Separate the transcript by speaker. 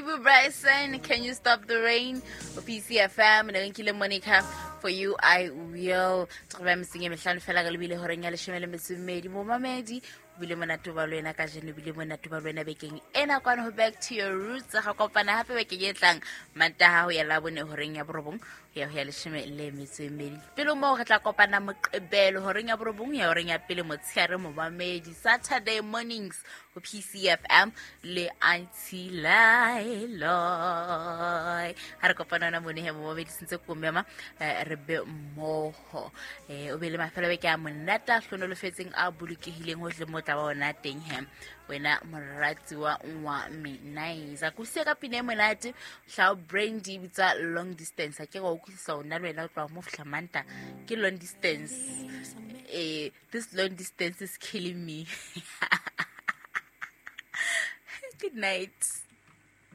Speaker 1: Ibu Bryson, Can You Stop the Rain? O PCFM, ne nkile Monica, For You I Will. Tsoba metseng e mehlano fela re lebile horeng ya leshome le metso e mmedi. Momamedi, o bile monate ba le wena kajeno, o bile monate ba le wena bekeng ena kwano ho Back to Your Roots. Ga kopana hape bekeng e tlang Mantaha ho ya Labone horeng ya borobong ho ya ho ya leshome le metso e mmedi. Pele moo re tla kopana Moqebelo horeng ya borobong ya horeng ya pele motshehare momamedi. Saturday mornings ho PCFM le Auntie Lailoy. Ha re kopana ona mone he momamedi sentse ko mema re be mmoho. O be le mafelo a beke a monate a hlonolofetseng a bolokehileng hohle mo tla ba ona teng he. Wena morati wa wa me nice. A kusiya ka pina e monate hlao Brandy bitsa long distance. A ke go utlwisisa ona le wena o tloha mo fihla Manta ke long distance. This long distance is killing me. Good night.